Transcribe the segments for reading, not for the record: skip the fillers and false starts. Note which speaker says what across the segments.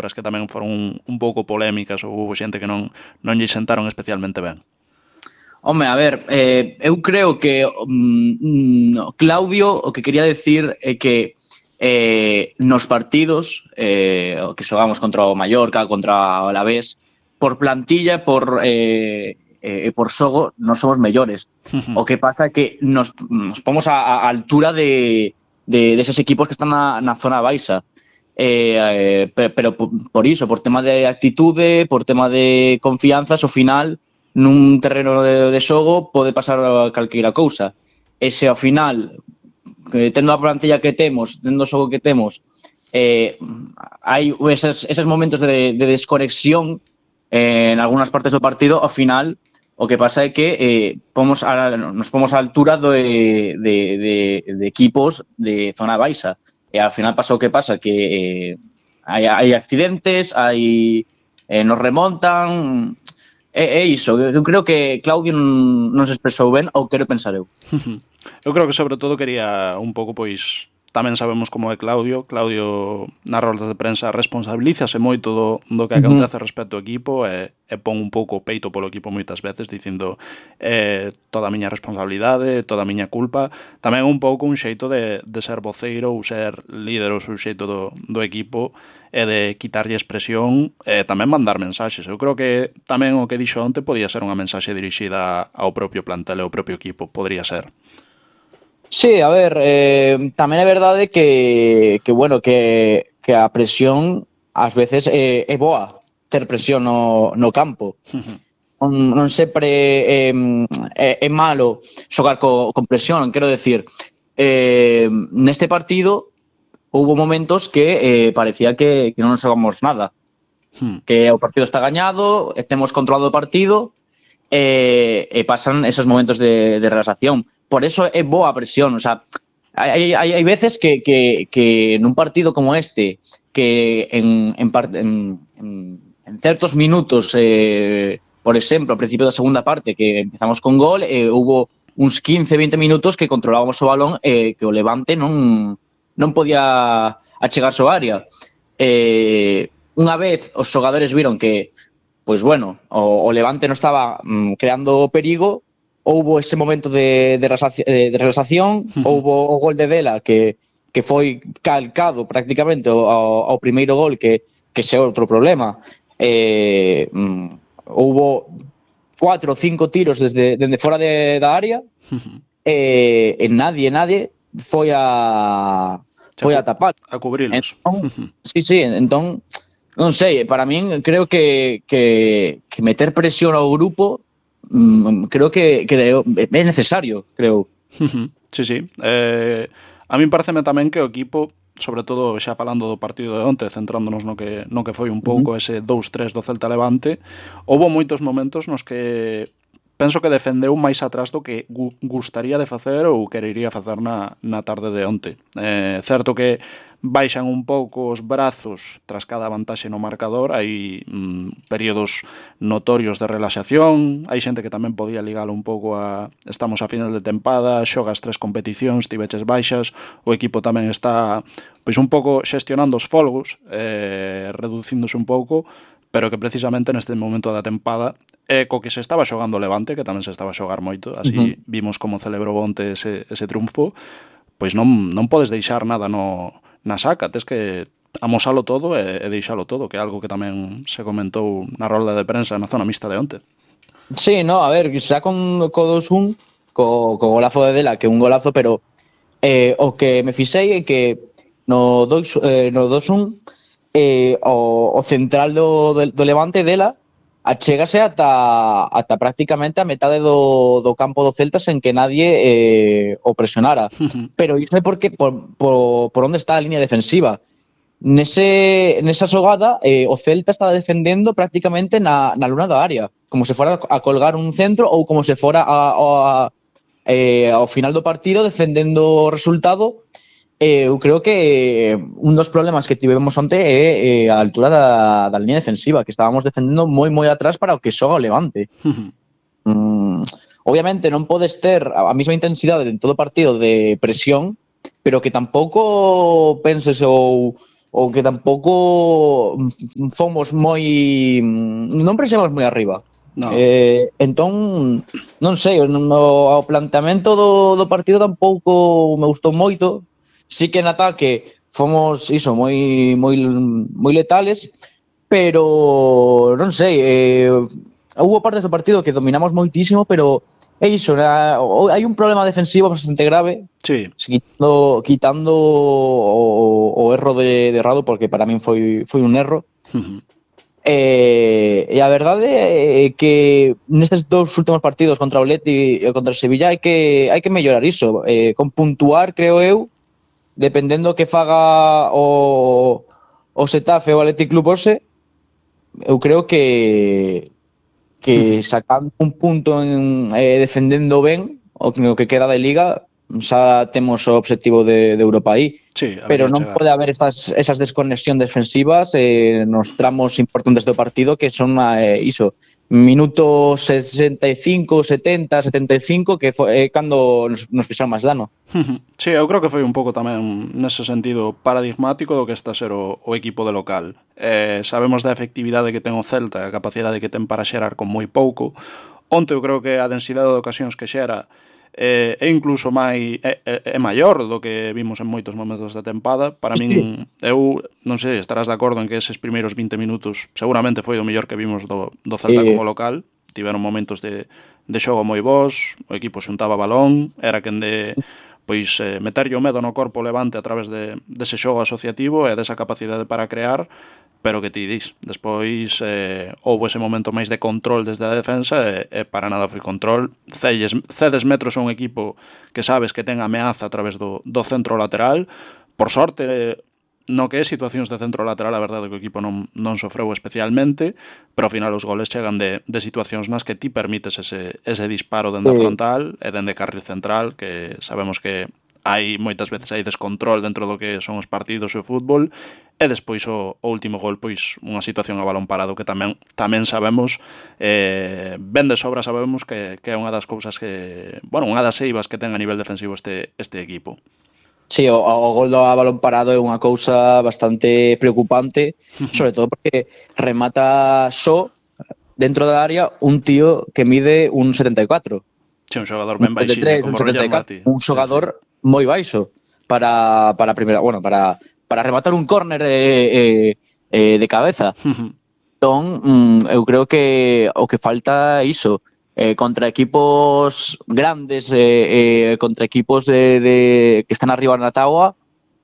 Speaker 1: palabras que tamén foron un pouco polémicas ou houve xente que non lle sentaron especialmente ben.
Speaker 2: Home, a ver, eu creo que Claudio o que quería decir é que nos partidos que xogamos contra o Mallorca, contra o Alavés, por plantilla, por xogo, non somos mellores. O que pasa é que nos pomos a altura de esos equipos que están na zona baixa. Pero por iso, por tema de actitude, por tema de confianzas, ao final nun terreno de xogo pode pasar calqueira cousa. E se ao final, tendo a plantilla que temos, tendo o xogo que temos, hai eses momentos de desconexión en algunhas partes do partido, ao final o que pasa é que nos pomos á altura de equipos de zona baixa. E ao final pasa o que pasa, que hai accidentes, nos remontan. É iso, eu creo que Claudio non se expresou ben, ou quero pensar eu.
Speaker 1: Eu creo que sobre todo quería un pouco, pois, tamén sabemos como é Claudio. Claudio nas roldas de prensa responsabilízase moito do que acontece respecto ao equipo e pon un pouco o peito polo equipo moitas veces dicindo toda a miña responsabilidade, toda a miña culpa. Tamén un pouco un xeito de ser voceiro ou ser líder ou xeito do equipo e de quitarlle expresión e tamén mandar mensaxes. Eu creo que tamén o que dixo onte podía ser unha mensaxe dirixida ao propio plantel e ao propio equipo, podría ser.
Speaker 2: Sí, a ver, tamén é verdade que a presión ás veces é boa ter presión no campo. Non sempre é malo xogar con presión, quero decir, neste partido houve momentos que parecía que non xogamos nada, que o partido está gañado, temos controlado o partido e pasan esos momentos de relaxación. Por eso é boa a presión, o sea, hai veces que nun partido como este, que en certos minutos, por exemplo, ao principio da segunda parte, que empezamos con gol, houve uns 15-20 minutos que controlábamos o balón e que o Levante non podía achegarse ao área. Unha vez os xogadores viron que, pois bueno, o Levante non estaba creando perigo, houbo ese momento de relaxación, houbo o gol de Dela que foi calcado prácticamente ao primeiro gol, que xe outro problema. Houbo 4 ou 5 tiros dende fora da área e nadie foi a tapar.
Speaker 1: A cubrirlos.
Speaker 2: Sí, entón, non sei, para min creo que meter presión ao grupo creo que é necesario, creo.
Speaker 1: Sí. A min pareceme tamén que o equipo, sobre todo xa falando do partido de onte, centrándonos no que foi un pouco ese 2-3 do Celta Levante, houve moitos momentos nos que penso que defendeu máis atrás do que gustaría de facer ou querería facer na tarde de onte. Certo que baixan un pouco os brazos tras cada vantaxe no marcador, hai períodos notorios de relaxación, hai xente que tamén podía ligalo un pouco a estamos a final de tempada, xogas 3 competicións, tiveches baixas, o equipo tamén está pois un pouco xestionando os folgos, reducíndose un pouco, pero que precisamente neste momento da tempada co que se estaba xogando o Levante, que tamén se estaba a xogar moito, así vimos como celebrou onte ese triunfo, pois non podes deixar nada na saca, tes que amosalo todo e deixalo todo, que é algo que tamén se comentou na rolda de prensa na zona mixta de onte.
Speaker 2: Sí, no, a ver, xa con 2-1, co golazo de Dela, que é un golazo, pero o que me fixei é que no 2-1 o central do Levante, Dela, achégase ata prácticamente a metade do campo do Celta sen que nadie o presionara. Pero iso é porque por onde está a línea defensiva. Nesa xogada o Celta estaba defendendo prácticamente na luna da área, como se fora a colgar un centro ou como se fora ao final do partido defendendo o resultado. Eu creo que un dos problemas que tivemos onte é a altura da línea defensiva, que estábamos defendendo moi atrás para o que xoga o Levante. Obviamente non podes ter a mesma intensidade en todo o partido de presión, pero que tampouco penses ou o que tampouco fomos moi non presionamos moi arriba.
Speaker 1: No.
Speaker 2: Entón, non sei, o planteamento do partido tampouco me gustou moito. Sí que en ataque fomos iso moi letales, pero non sei, houbo partes do partido que dominamos moitísimo, pero é iso, hai un problema defensivo bastante grave.
Speaker 1: Sí.
Speaker 2: Quitando o erro de Rado, porque para min foi un erro. E a verdade é que nestes dous últimos partidos contra o Leti e contra o Sevilla hai que mellorar iso, con puntuar, creo eu, dependendo que faga o Xetafe ou o Athletic Club hoxe, eu creo que sacando un punto defendendo ben o que queda de Liga, xa temos o obxectivo de Europa aí.
Speaker 1: Sí,
Speaker 2: pero non
Speaker 1: chegar.
Speaker 2: pode haber esas desconexións defensivas nos tramos importantes do partido, que son iso, minuto 65, 70, 75, que é cando nos fixaron máis dano.
Speaker 1: Sí, eu creo que foi un pouco tamén nese sentido paradigmático do que está a ser o equipo de local. Sabemos da efectividade que ten o Celta, a capacidade que ten para xerar con moi pouco. Onte eu creo que a densidade de ocasións que xera é incluso é maior do que vimos en moitos momentos da tempada. Para min, eu non sei, estarás de acordo en que eses primeiros 20 minutos seguramente foi o mellor que vimos do Celta como local. Tiveron momentos de xogo moi bons, o equipo xuntaba balón, era quen de meterlle o medo no corpo Levante a través dese xogo asociativo e desa capacidade para crear, pero que ti dis, despois houve ese momento máis de control desde a defensa e para nada foi control. Cedes metros a un equipo que sabes que ten ameaza a través do centro lateral. Por sorte, no que é situacións de centro lateral, a verdade é que o equipo non sofreu especialmente, pero ao final os goles chegan de situacións nas que ti permites ese disparo dende a frontal e dende carril central, que sabemos que hai moitas veces hai descontrol dentro do que son os partidos e o fútbol, e despois o último gol, pois unha situación a balón parado que tamén sabemos, ben de sobra sabemos que é unha das cousas que, bueno, unha das eivas que ten a nivel defensivo este equipo.
Speaker 2: Sí, o gol do balón parado é unha cousa bastante preocupante, sobre todo porque remata só dentro da área un tío que mide un 74.
Speaker 1: Sí, un xogador ben baixiño, como Roger Mati.
Speaker 2: Un xogador moi baixo para primeira, bueno, para rematar un córner de cabeza. Entón, eu creo que o que falta é iso. Contra equipos grandes, contra equipos que están arriba na táboa,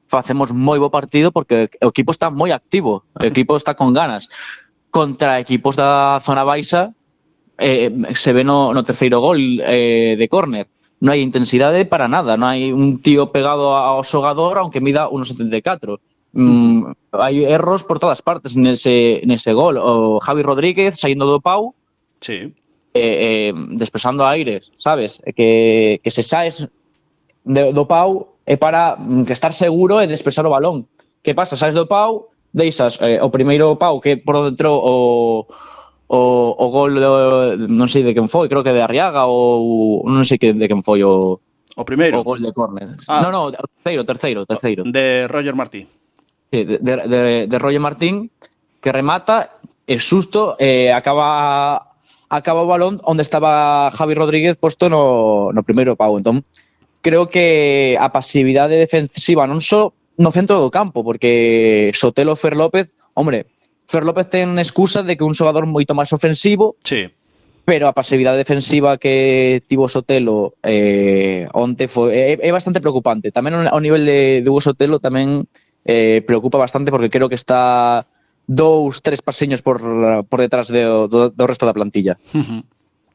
Speaker 2: facemos moi bo partido porque o equipo está moi activo, o equipo está con ganas. Contra equipos da zona baixa, se ve no terceiro gol de córner, non hai intensidade para nada, non hai un tío pegado ao xogador aunque mida 1,74. Hai erros por todas partes nese gol. O Javi Rodríguez saindo do pau,
Speaker 1: sí,
Speaker 2: despexando aires, sabes? Que se saes do pau é para que estar seguro e despexar o balón. Que pasa? Saes do pau, deixas o primeiro pau que por dentro o gol non sei de quen foi, creo que de Arriaga ou non sei de quen foi o
Speaker 1: primeiro.
Speaker 2: O gol de córner. No, terceiro.
Speaker 1: De Roger Martí.
Speaker 2: Sí, de Roger Martín, que remata e xusto acaba o balón onde estaba Javi Rodríguez posto no primeiro pau. Entón, creo que a pasividade defensiva non só no centro do campo, porque Sotelo Fer López, hombre, Fer López ten excusa de que un xogador moito máis ofensivo,
Speaker 1: sí,
Speaker 2: pero a pasividade defensiva que tivo Sotelo onte é bastante preocupante. Tamén ao nivel de Hugo Sotelo tamén preocupa bastante, porque creo que está 2-3 pasiños por detrás do resto da plantilla.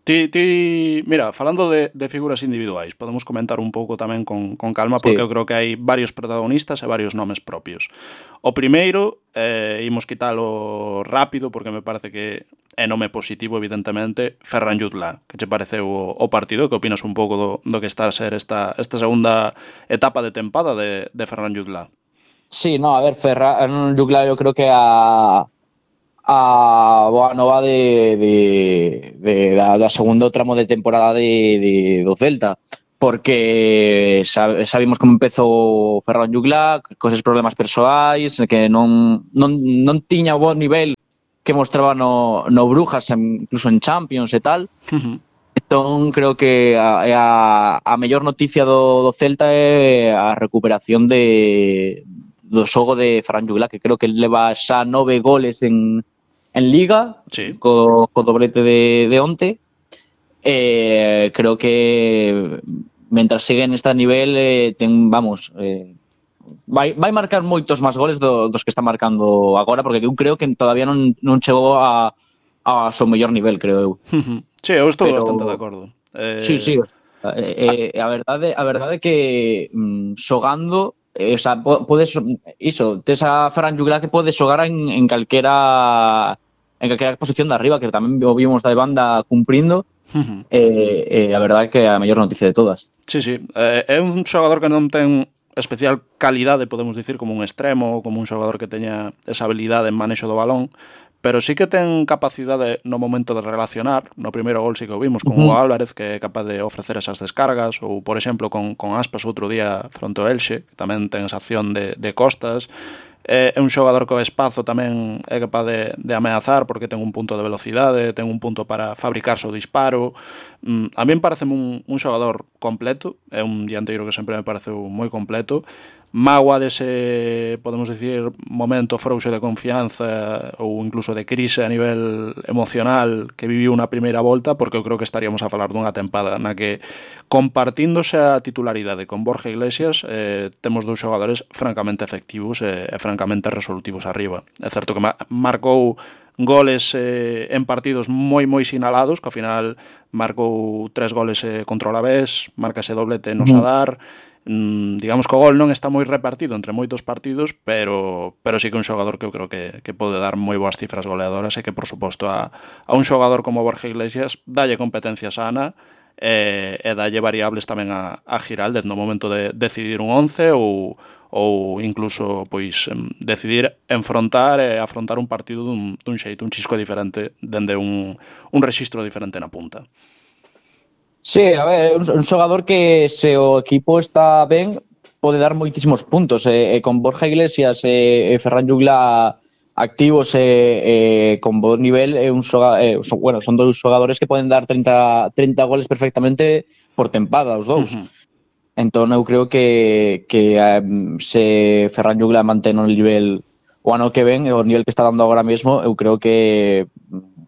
Speaker 1: Mira, falando de figuras individuais, podemos comentar un pouco tamén con calma, porque eu creo que hai varios protagonistas e varios nomes propios. O primeiro, imos quitalo rápido, porque me parece que é nome positivo, evidentemente, Ferran Jutla. Que che pareceu o partido? Que opinas un pouco do que está a ser esta segunda etapa de tempada de Ferran Jutla?
Speaker 2: Sí, no, a ver, Ferran Jutla eu creo que a boa nova da segundo tramo de temporada do Celta, porque sabemos como empezou Ferran Juglar, cos problemas persoais, que non tiña o bo nivel que mostraba no Brujas, incluso en Champions e tal. Entón, creo que a mellor noticia do Celta é a recuperación do xogo de Ferran Juglar, que creo que leva xa 9 goles en Liga,
Speaker 1: sí,
Speaker 2: co doblete de onte. Creo que mentras sigue neste nivel vai marcar moitos máis goles dos que está marcando agora, porque eu creo que todavía non chegou a seu mellor nivel, creo eu.
Speaker 1: Sí, eu estou bastante de acordo.
Speaker 2: Sí. A verdade é que xogando, o sea, podes tes a Ferran Juglar que pode xogar en calquera posición de arriba, que tamén o vimos da banda cumprindo. A verdade é que é a mellor noticia de todas.
Speaker 1: Sí, é un xogador que non ten especial calidade, podemos dicir, como un extremo ou como un xogador que teña esa habilidade en manexo do balón, pero sí que ten capacidade no momento de relacionar. No primeiro gol sí que o vimos con Hugo Álvarez, que é capaz de ofrecer esas descargas, ou, por exemplo, con Aspas outro día fronte ao Elxe, que tamén ten esa acción de costas. É un xogador co espazo tamén é capaz de ameazar, porque ten un punto de velocidade, ten un punto para fabricarse o disparo. A mí parece un xogador completo, é un dianteiro que sempre me pareceu moi completo. Mágoa dese, podemos dicir, momento frouxo de confianza ou incluso de crise a nivel emocional que viviu na primeira volta, porque eu creo que estaríamos a falar dunha tempada na que, compartíndose a titularidade con Borja Iglesias, temos dous xogadores francamente efectivos e francamente resolutivos arriba. É certo que marcou goles en partidos moi sinalados, que ao final marcou 3 goles contra o Alavés, marca ese doblete no Sadar. Digamos que o gol non está moi repartido entre moitos partidos, pero sí que un xogador que eu creo que pode dar moi boas cifras goleadoras, e que, por suposto, a un xogador como Borja Iglesias dalle competencia sana e dalle variables tamén a Giraldez no momento de decidir un 11 ou incluso pois decidir afrontar un partido dun xeito, un chisco diferente, dende un rexistro diferente na punta.
Speaker 2: Sí, a ver, un xogador que se o equipo está ben pode dar moitísimos puntos, con Borja Iglesias e Ferran Juglar activos con bo nivel, son dous xogadores que poden dar 30 goles perfectamente por tempada, os dous. Entón eu creo que se Ferran Juglar mantén o nivel o ano que ven, o nivel que está dando agora mesmo, eu creo que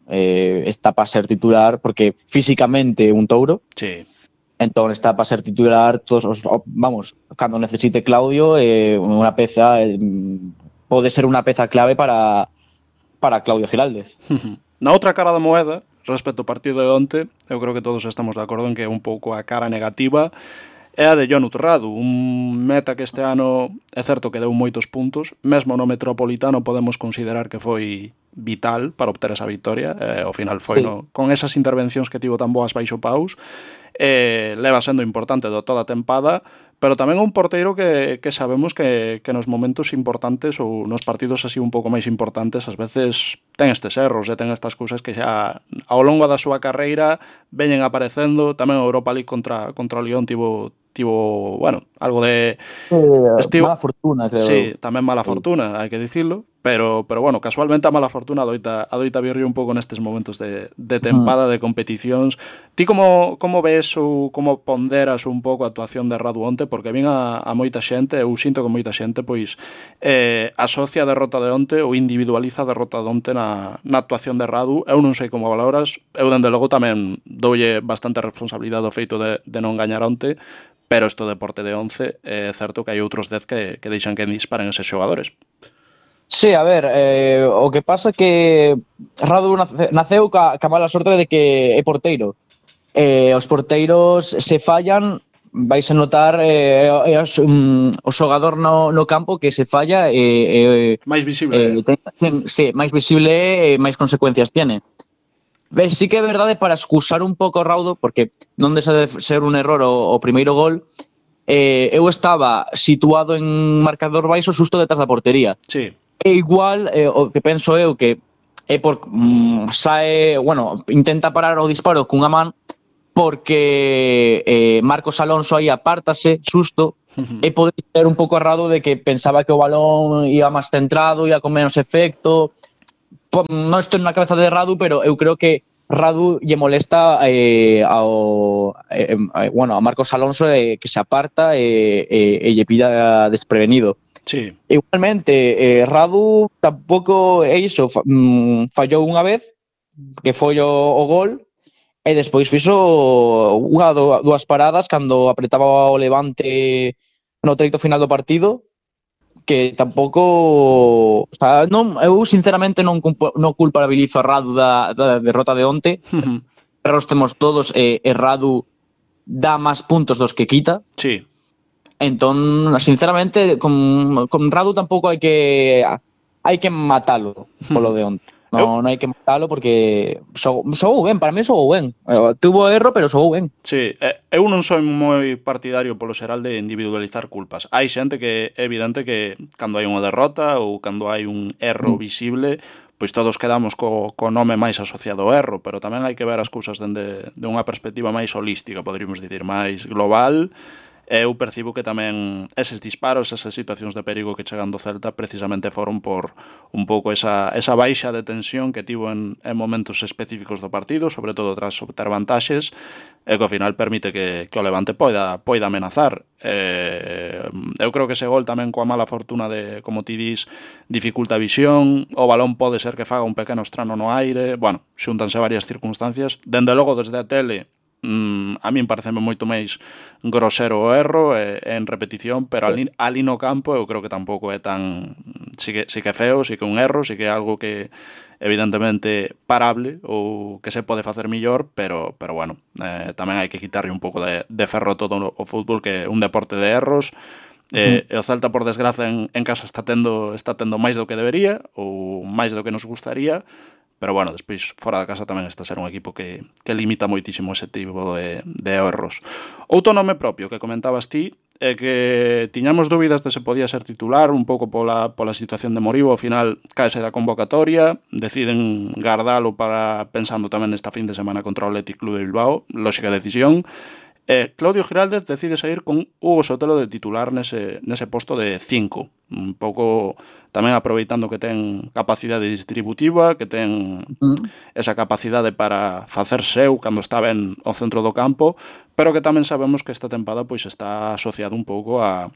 Speaker 2: está para ser titular, porque físicamente un touro.
Speaker 1: Sí.
Speaker 2: Entón está para ser titular cando necesite Claudio, unha peza pode ser unha peza clave para Claudio Giraldez.
Speaker 1: Na outra cara da moeda, respecto ao partido de onte, eu creo que todos estamos de acordo en que é un pouco a cara negativa é a de Jonut Radu, un meta que este ano é certo que deu moitos puntos, mesmo no Metropolitano podemos considerar que foi vital para obter esa victoria, ao final foi con esas intervencións que tivo tan boas baixo paus, leva sendo importante de toda a tempada, pero tamén un porteiro que sabemos que nos momentos importantes ou nos partidos así un pouco máis importantes ás veces ten estes erros e ten estas cousas que xa ao longo da súa carreira veñen aparecendo. Tamén a Europa League contra o Lyon tivo algo de
Speaker 2: mala fortuna, creo.
Speaker 1: Sí, tamén mala fortuna, hai que dicilo, pero bueno, casualmente a mala fortuna adoita virrir un pouco nestes momentos de tempada, de competicións. Ti como ves ou como ponderas un pouco a actuación de Radu onte? Porque vin a moita xente, eu sinto que moita xente pois asocia a derrota de onte ou individualiza a derrota de onte na actuación de Radu. Eu non sei como valoras, eu dende logo tamén doulle bastante responsabilidade ao feito de non gañar onte, pero isto deporte de 11 é certo que hai outros 10 que deixan que disparen eses xogadores.
Speaker 2: Sí, a ver, o que pasa é que Radu naceu ca mala sorte de que é porteiro. Os porteiros se fallan, vais a notar o xogador no campo que se falla
Speaker 1: máis visible.
Speaker 2: Sí, máis visible e máis consecuencias tiene. Sí que é verdade, para excusar un pouco o Raudo, porque non deixa de ser un error o primeiro gol, eu estaba situado en marcador baixo xusto detrás da portería.
Speaker 1: Sí.
Speaker 2: E igual, o que penso eu que é por intenta parar o disparo cunha man, porque Marcos Alonso aí apártase, susto, e pode ser un pouco errado de que pensaba que o balón iba máis centrado, ia con menos efecto. Non estou na cabeza de Radu, pero eu creo que Radu lle molesta a Marcos Alonso que se aparta e lle pilla desprevenido.
Speaker 1: Sí.
Speaker 2: Igualmente, Radu tampouco é iso, fallou unha vez, que foi o gol, e despois fixo dúas paradas cando apretaba o Levante no treito final do partido, que tampouco, o sea, eu sinceramente non culpabilizo a Radu da derrota de onte. Erros temos todos e Radu dá máis puntos dos que quita.
Speaker 1: Sí.
Speaker 2: Entón, sinceramente, con Radu tampouco hai que matalo polo de onte. Non hai que matalo porque xogou ben, para mí xogou ben. Tuvo erro, pero xogou ben.
Speaker 1: Sí, eu non sou moi partidario polo xeral de individualizar culpas. Hai xente que é evidente que cando hai unha derrota ou cando hai un erro visible, pois todos quedamos co nome máis asociado ao erro, pero tamén hai que ver as cousas dende unha perspectiva máis holística, poderíamos dicir, máis global. Eu percibo que tamén eses disparos, esas situacións de perigo que chegan do Celta precisamente foron por un pouco esa baixa de tensión que tivo en momentos específicos do partido, sobre todo tras obter vantaxes, e que ao final permite que o Levante poida amenazar. Eu creo que ese gol tamén coa mala fortuna de, como ti dis, dificulta a visión, o balón pode ser que faga un pequeno estrano no aire, bueno, xúntanse varias circunstancias. Dende logo, desde a tele, a min pareceme moito máis grosero o erro en repetición, pero ali no campo eu creo que tampouco é tan... Sí que é feo, sí que é un erro, sí que é algo que evidentemente parable ou que se pode facer millor, pero bueno, tamén hai que quitarlle un pouco de ferro todo o fútbol, que é un deporte de erros. E o Celta, por desgraza, en casa está tendo máis do que debería ou máis do que nos gustaría. Pero bueno, despois fora da casa tamén está a ser un equipo que limita moitísimo ese tipo de erros. Outro nome propio que comentabas ti é que tiñamos dúbidas de se podía ser titular un pouco pola situación de Moribo. Ao final caese da convocatoria, deciden gardalo para pensando tamén nesta fin de semana contra o Athletic Club de Bilbao, lóxica decisión. Claudio Giraldez decide sair con Hugo Sotelo de titular nese posto de 5, un pouco tamén aproveitando que ten capacidade distributiva, que ten esa capacidade para facer seu cando está ben ao centro do campo, pero que tamén sabemos que esta tempada pois está asociado un pouco a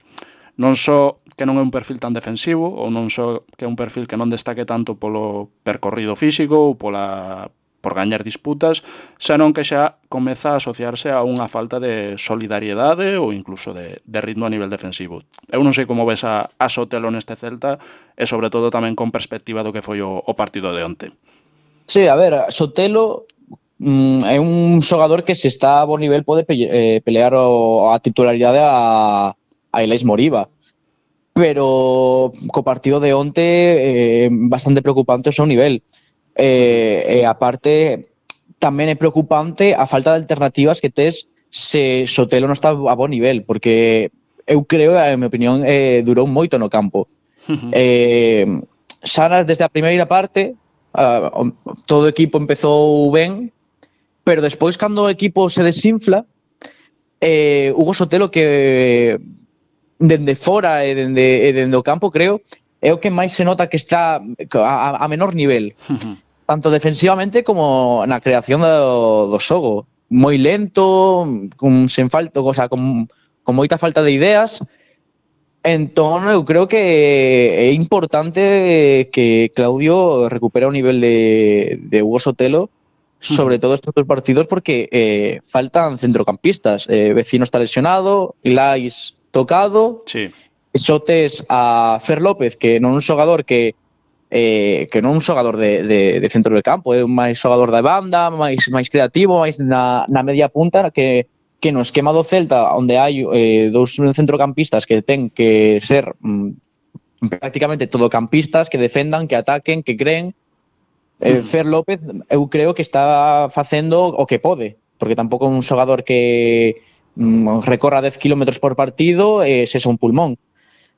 Speaker 1: non só que non é un perfil tan defensivo, ou non só que é un perfil que non destaque tanto polo percorrido físico ou por gañar disputas, senón que xa comeza a asociarse a unha falta de solidariedade ou incluso de ritmo a nivel defensivo. Eu non sei como ves a Sotelo neste Celta e sobre todo tamén con perspectiva do que foi o partido de onte.
Speaker 2: Sí, a ver, Sotelo é un xogador que se está a bo nivel pode pelear a titularidade a Elais Moriba, pero co partido de onte bastante preocupante o seu nivel. E aparte tamén é preocupante a falta de alternativas que tes se Sotelo non está a bo nivel, porque eu creo, en minha opinión, durou moito no campo. Xa desde a primeira parte todo o equipo empezou ben, pero despois cando o equipo se desinfla, Hugo Sotelo, que dende fora e dende o campo, creo, é o que máis se nota que está a menor nivel, tanto defensivamente como na creación do xogo. Moi lento, sen falta, o sea, con moita falta de ideas. Entón, eu creo que é importante que Claudio recupere o nivel de Hugo Sotelo, sobre todo estes dos partidos, porque faltan centrocampistas. Vecino está lesionado, Ilais tocado,
Speaker 1: sí.
Speaker 2: Xotes a Fer López, que non é un xogador que non é un xogador de centro del campo, é un máis xogador da banda, máis creativo, máis na media punta, que no esquema do Celta, onde hai dous centrocampistas que ten que ser prácticamente todocampistas, que defendan, que ataquen, que creen. Fer López, eu creo que está facendo o que pode, porque tampouco é un xogador que recorra 10 km por partido e se un pulmón.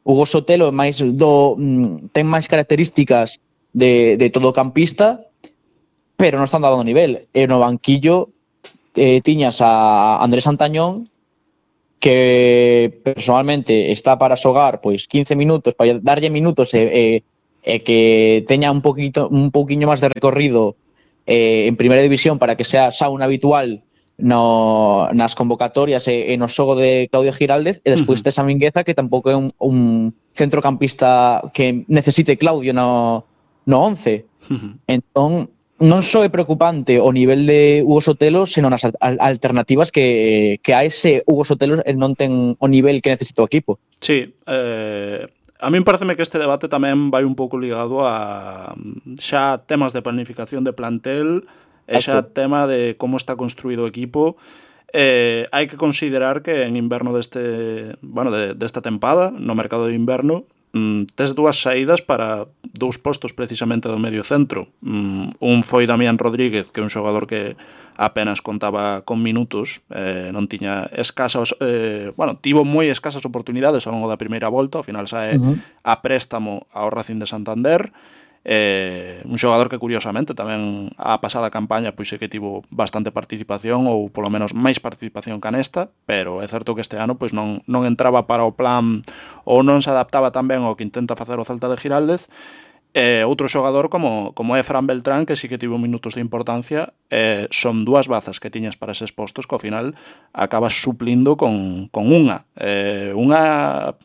Speaker 2: Hugo Sotelo ten máis características de todocampista, pero non están dando nivel. E no banquillo tiñas a Andrés Antañón, que personalmente está para xogar pois 15 minutos, para darlle minutos e que teña un pouquiño máis de recorrido en primeira división para que sea xa un habitual nas convocatorias e no xogo de Claudio Giraldez, e despois tes a Mingueza, que tampouco é un centrocampista que necesite Claudio no 11. Entón, non só é preocupante o nivel de Hugo Sotelo, senón as alternativas que a ese Hugo Sotelo non ten o nivel que necesita o equipo.
Speaker 1: Sí, a min pareceme que este debate tamén vai un pouco ligado a xa temas de planificación de plantel e xa tema de como está construído o equipo. Hai que considerar que en inverno desta tempada, no mercado de inverno, tes dúas saídas para dous postos precisamente do medio centro. Un foi Damián Rodríguez, que é un xogador que apenas contaba con minutos, non tiña tivo moi escasas oportunidades ao longo da primeira volta, ao final sae a préstamo ao Racing de Santander. Un xogador que curiosamente tamén a pasada campaña pois é que tivo bastante participación, ou polo menos máis participación que nesta, pero é certo que este ano pois non entraba para o plan, ou non se adaptaba tan ben ao que intenta facer o Celta de Giraldez. Outro xogador como é Fran Beltrán, que sí que tivo minutos de importancia, son dúas bazas que tiñas para eses postos que ao final acabas suplindo con unha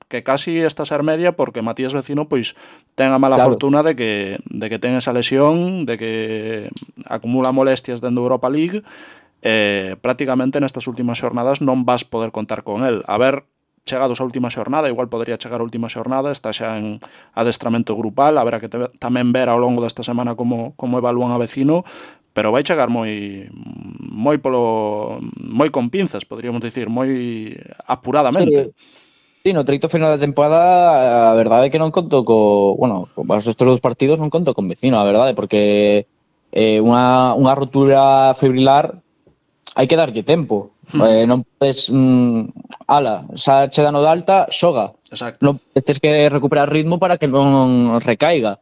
Speaker 1: que casi está a ser media, porque Matías Vecino pois ten a mala fortuna de que ten esa lesión, de que acumula molestias dentro da Europa League. Prácticamente nestas últimas xornadas non vas poder contar con el. A ver, chegados a última xornada, igual podría chegar a última xornada, está xa en adestramento grupal, haberá que tamén ver ao longo desta semana como evalúan a Vecino, pero vai chegar moi con pinzas, podríamos dicir, moi apuradamente.
Speaker 2: Sí, no treito final da temporada, a verdade é que non conto estes dous partidos non conto con Vecino, a verdade, porque unha rotura fibrilar hai que darlle tempo. Non podes xa che dano de alta, xoga. Non tes que recuperar ritmo para que non recaiga.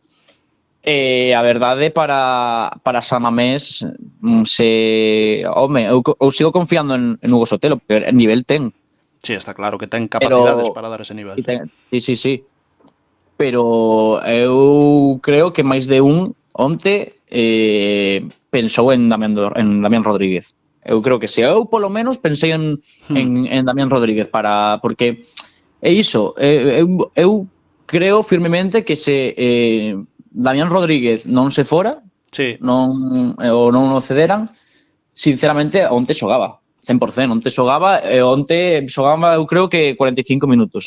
Speaker 2: A verdade, para Samamés, eu sigo confiando en Hugo Sotelo, porque el nivel ten.
Speaker 1: Sí, está claro que ten capacidades para dar ese nivel.
Speaker 2: Sí. Pero eu creo que máis de un onte pensou en Damián Rodríguez. Eu creo que eu polo menos pensei en Damián Rodríguez, porque é iso, eu creo firmemente que se Damián Rodríguez non se fora, non o cederan, sinceramente onte xogaba 100%, onte xogaba eu creo que 45 minutos,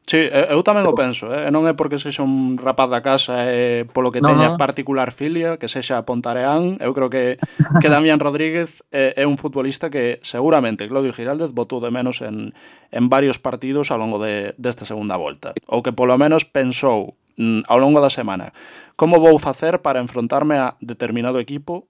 Speaker 1: Sí, eu tamén o penso, non é porque sexa un rapaz da casa polo que teña particular filia, que sexa pontareán. Eu creo que Damián Rodríguez é un futbolista que seguramente Claudio Giraldez botou de menos en varios partidos ao longo desta segunda volta, ou que polo menos pensou ao longo da semana como vou facer para enfrontarme a determinado equipo